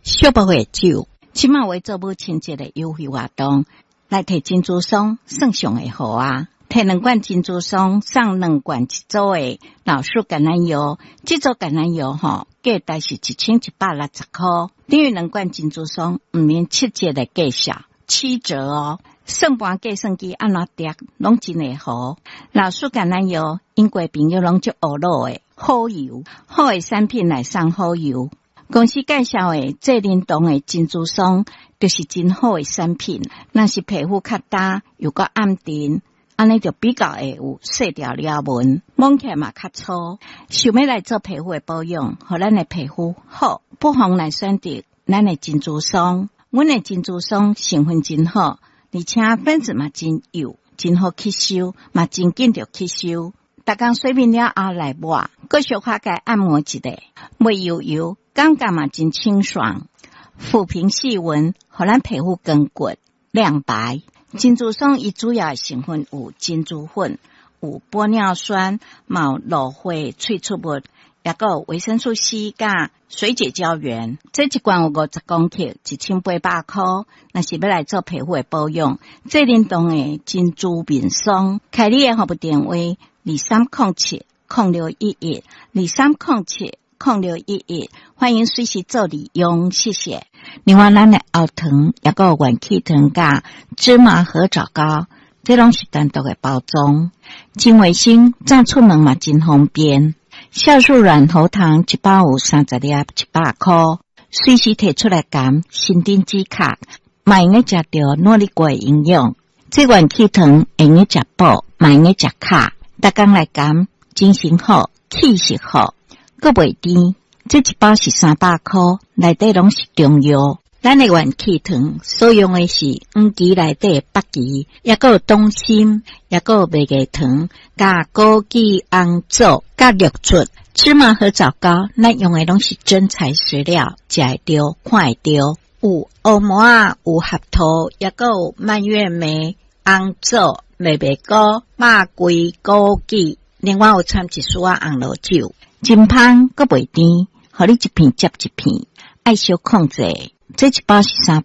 惜無會酒。這馬會做母親節的優惠活動，來提珍珠霜算上會好啊！提兩罐珍珠霜送兩罐一組的老樹橄欖油，這組橄欖油吼，價值是1160塊，等於兩罐珍珠霜毋免七折的價數，七折哦！算盤計算機按怎疊，攏真會好。老樹橄欖油，英國朋友攏足懊惱的好油，好的產品來送好油。公司介紹的濟仁堂的珍珠霜，就是真好的產品。若是皮膚較焦又閣暗沉，按呢就比較會有細條裂紋，摸起來嘛較粗。想欲來做皮膚的保養，予咱的皮膚好，不妨來選擇咱的珍珠霜。阮的珍珠霜成分真好，而且分子嘛真幼，真好吸收，嘛真緊著吸收。逐工洗面了後來抹，閣小可共按摩一下，袂油油，感覺嘛真清爽，撫平細紋，予咱皮膚光滑亮白。珍珠霜伊主要的成分有珍珠粉、有玻尿酸、嘛有蘆花萃取物，抑閣有維生素 C 佮水解膠原。這一罐有50公克，1800塊。若是欲來做皮膚的保養，濟仁堂的珍珠面霜，開你的服務電話：2307-0611，2307-0611，歡迎隨時做利用，謝謝。另外，咱的喉糖，抑閣有元氣糖佮芝麻核棗糕，這攏是單獨的包裝，真衛生，早出門嘛真方便。酵素軟喉糖一包有30粒，100塊，隨時提出來含，申甜止渴，嘛會用食著諾麗果的營養。這元氣糖會用食補，嘛會用食卡，逐工來含，精神好，氣色好，閣袂甜。這一包是300塊，內底攏是中藥。咱的元氣糖所用的是黃芪內底的北芪，抑閣有黨參，抑閣有麥芽糖，佮枸杞、紅棗、佮玉竹、芝麻核棗糕，咱用的攏是真材實料，食會著，看會著。有烏麻仔，有合桃，抑閣有蔓越莓、紅棗、麥麥菇、肉桂、枸杞，另外有摻一絲仔紅露酒，真芳閣袂甜，予你一片接一片，愛小控制。這一包是三。